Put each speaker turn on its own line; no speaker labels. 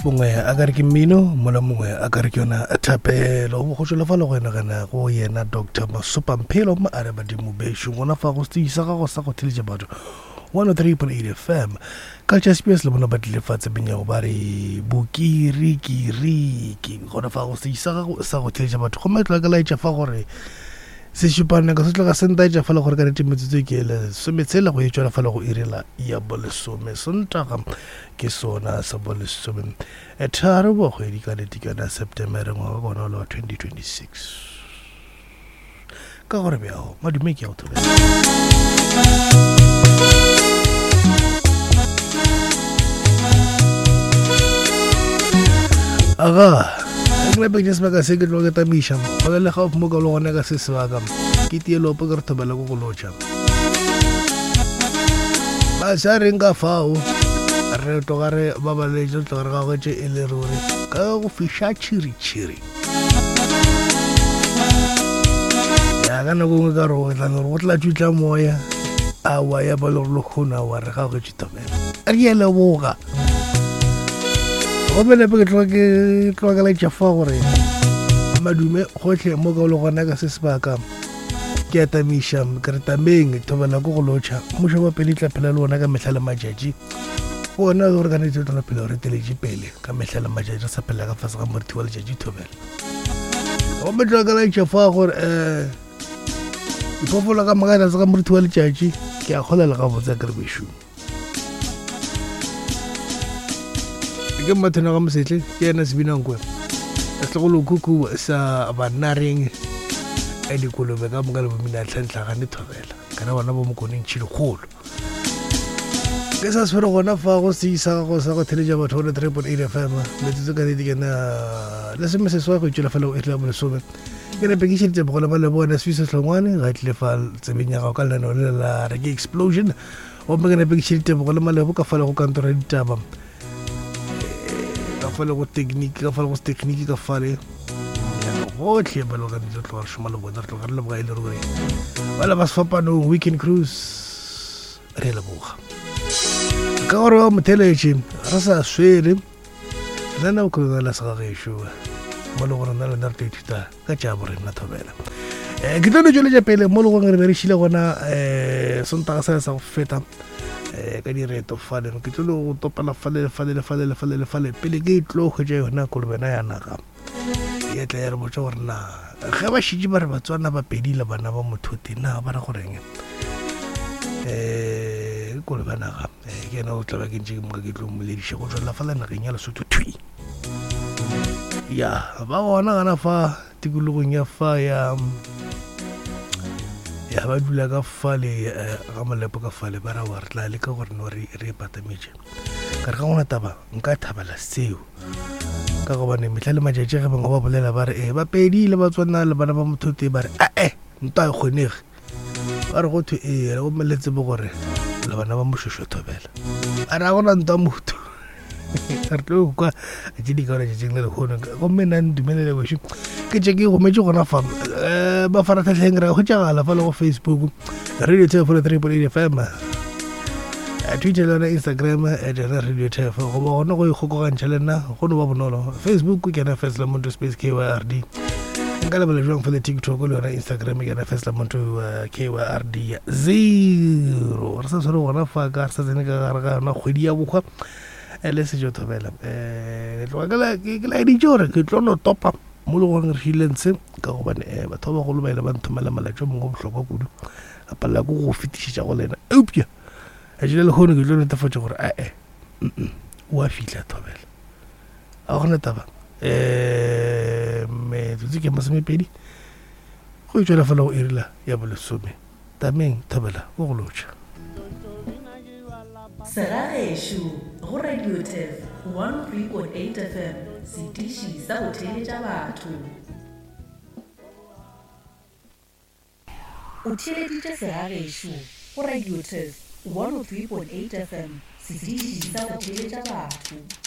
Mongwe a ka re ke mmino, mola mongwe a ka re ke yona thapelo. Go tšwela fa le go enagana go yena Doctor Masopa Mphelo a re badimo bešo gona fa go setši sa gago sa go theletša batho 103.8 FM. Culture Spears le bona ba tlile fa tsebeng ya go ba re bokirikiriki gona fa go setši sa gago sa go theletša batho. Gomme tloga ke laetša fa gore sešupanako se tloga se ntaetša fa le gore ka nete metsotso ke lesometshela go e tšwela fa le go irela ya bolesome Sontaga ke sona sa bolesome tharo bo kgwedi ka nete ke yona Septemere ngwaga ke ona o le wa 2026 ka gore bjao madume ke ya go thobela. Aga ke nape ke sebaka se ke tlo ke tamiša go le gaufi mo ka le gona ka se sebaka ke tie lopo ke re thobela ko go lotšha ba sa reng ka fao re tloga re babaletše re tloga re gagetše e le ruri ka go fiša tšhiritšhiri ya ka nako nngwe ka re go tla go tla tšutla moya awa ya ba le gore lekgono awa re gagetše thobela re ye leboga gomme nepe ke tloga ke tloga ke laetša fa gore madume gotlhe mo ka o le gona ka se sebaka ke atamiša ke re tameng thobela ko go lotšha mmušo wa pele tla phela le ona ka mehla le matšatši ona gore ka nete tla phela re teletše pele ka mehla le matšatši re sa phela ka fase ga morithi wa letšatši thobela gomme tloga ke laetša fa gore um diphoofolo ka moka tlase ga morithi wa letšatši ke a kgolela gabotse ke re bešong ke mmathona ga mosetle ke yena sebinankwe setlogolokhukhu sa bannareng a dikolobe ka moka le bomina tlhantlhagane thobela kana bona bo mokoneng tšhilokgolo ke sa swere gona fa go se isa gago sa go theletša batho gone 3.8 fm metsotso ka nete kena lesome seswai go itšwela fela go iri ya bolesome ke nepe ke šeditse bogole ba le bone sefisa hlongwane ga tlile fa tsebeng ya gago ka lenaneo le la re ke explosion gomme ke nepe ke šeditse bogole malebo ka fale go kantoro ya ditaba ka fale go technique ka fale go technique ka fale gotlhe ba le gore re tloga re šoma le bona re tloga re leboga e le ruri ba le ba sefapanong weekend cruise re leboga ka gore wa motheletše re sa swere nna o kgona la segagešo mo le gore nna le nna re tlo ithuta ka tša borena thobela um ke tlo no tšweletša pele mo le gongwe re be re šile gona um sontaga sa sa go feta um ka direto fale ke tlo le go topela fale le fale le fale le fale le fale pele ke tlo hwetša yona kolobena ya naga ya tla ya re botša gore na ge ba šitše ba re batswana ba pedi le bana ba mothote na ba re goreng um kolobe naga eh, ke ena o tla ba ke ntše ke moka ke tlo mmolediša go tswelela fa la nageng ya lesotho thwi ya ba gona gana fa tikologong ya fa ya ya ba dula ka fale eh, ga molepo ka fale ba ra wa re tla leka gore no re re patametše ka re ga gona taba nka thabela seo ka gobane mehla le matšatši ge bangwe ba bolela ba re e ba pedi le batswana le bana ba motho tee ba re ae ntwa e kgonege ba re go thwe ee gomme le tsebe gore le bana ba mošošo thobela a re a gona ntwa motho re tlo kwa tše di kaone tšatšing le lehono gomme nna ntumelele wešo ke tše ke gometše gona fa um eh, mafaratlhatlheng re hwetšagala fa le go facebook radio tef 3.8 fm eh, twitter le yona instagram eh, yona radio tef goba gona go ikgokogantšha le nna go no ba bonolo facebook ke yona first lamonto space kyrd nka lebala jwang fa le tiktok le yona instagram ke yona first lamonto kyrd zero re sa tshwere gona fa ka re sa tsene ka gare ga yona kgwedi ya bokgwa e le sejo thobela um tloga ke laeditše gore ke tlo no topa mo le goreng re šile ntshe ka gobane um batho ba bagolo ba ile ba nthomela malatši o mongwe bohlokwa kudu a palela ko go fetišetša go lena eupša letši le lehono ke tlo netefatša gore ae o a fihla thobela a gona taba um metsotso ke masomepedi go e tšwela fela go irila ya bolesome Tameng Thobela o go lotšha.
Segagešo go Radio Turf 103.8 FM, setiši sa go theeletša batho. O theeleditše Segagešo go Radio Turf 103.8 FM, setiši sa go theeletša batho.